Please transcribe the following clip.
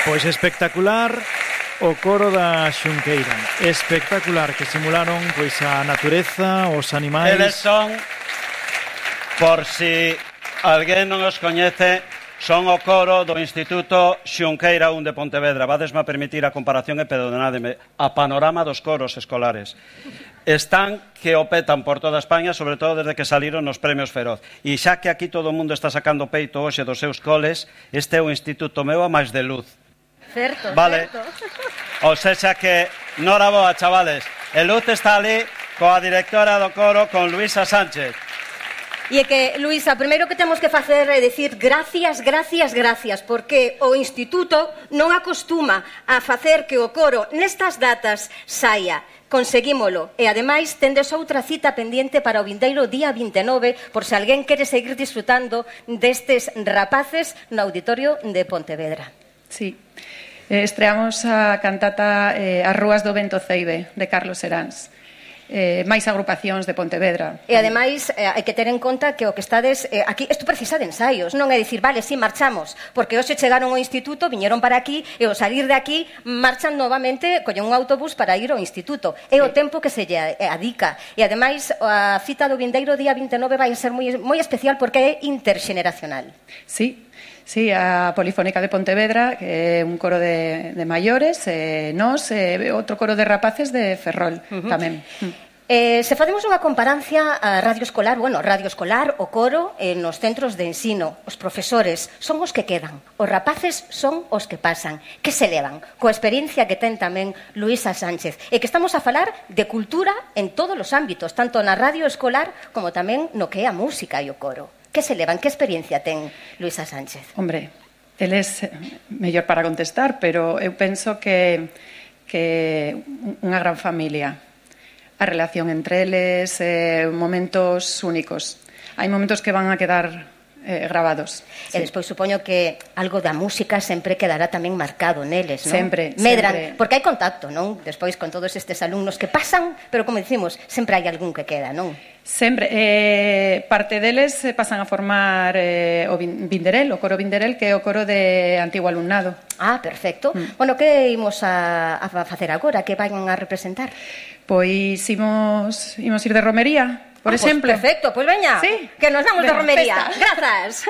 Pois espectacular o coro da Xunqueira. Espectacular, que simularon pois a natureza, os animais. Eles son, por si alguén non os coñece, son o coro do Instituto Xunqueira 1 de Pontevedra. Vadesme a permitir a comparación e perdonádeme, a panorama dos coros escolares. Están que o petan por toda España, sobre todo desde que saliron nos premios Feroz. E xa que aquí todo o mundo está sacando peito hoxe dos seus coles, este é o instituto meu a máis de luz. Certo, vale. certo. O sexa que, nora boa, chavales. E Luz está ali coa directora do coro, con Luisa Sánchez. E é que, Luisa, o primeiro que temos que facer é dicir gracias, gracias, gracias, porque o Instituto non acostuma a facer que o coro nestas datas saia. Conseguímolo. E, ademais, tendes outra cita pendiente para o vindeiro día 29, por se alguén quere seguir disfrutando destes rapaces no Auditorio de Pontevedra. Sí. Estreamos a cantata As Rúas do Vento Ceibe, de Carlos Seráns. Máis agrupacións de Pontevedra. E ademais hai que ter en conta que o que estades aquí, isto precisa de ensaios, non é dicir, vale, si marchamos, porque hoxe chegaron ao instituto, viñeron para aquí e ao salir de aquí marchan novamente, collen un autobús para ir ao instituto. É o tempo que se lle adica. E ademais a cita do vindeiro día 29 vai ser moi especial porque é interxeneracional. Sí, a Polifónica de Pontevedra, que é un coro de maiores, nós, outro coro de rapaces de Ferrol, tamén. Se facemos unha comparancia a radio escolar, o coro nos centros de ensino, os profesores son os que quedan, os rapaces son os que pasan, que se levan, coa experiencia que ten tamén Luisa Sánchez, e que estamos a falar de cultura en todos os ámbitos, tanto na radio escolar como tamén no que é a música e o coro. Que se levan? Que experiencia ten Luisa Sánchez? Hombre, eles mellor para contestar, pero eu penso que unha gran familia. A relación entre eles, momentos únicos. Hai momentos que van a quedar grabados. E despois supoño que algo da música sempre quedará tamén marcado neles, non? Sempre. Porque hai contacto, non? Despois con todos estes alumnos que pasan, pero como dicimos, sempre hai algún que queda, non? Sempre. Parte deles pasan a formar o Vinderel, o coro Vinderel, que é o coro de antigo alumnado. Ah, perfecto. Bueno, que imos a facer agora? Que vayan a representar? Pois imos ir de romería, por exemplo. Pues perfecto, pois veña, sí. Que nos vamos de romería. Festa. Grazas.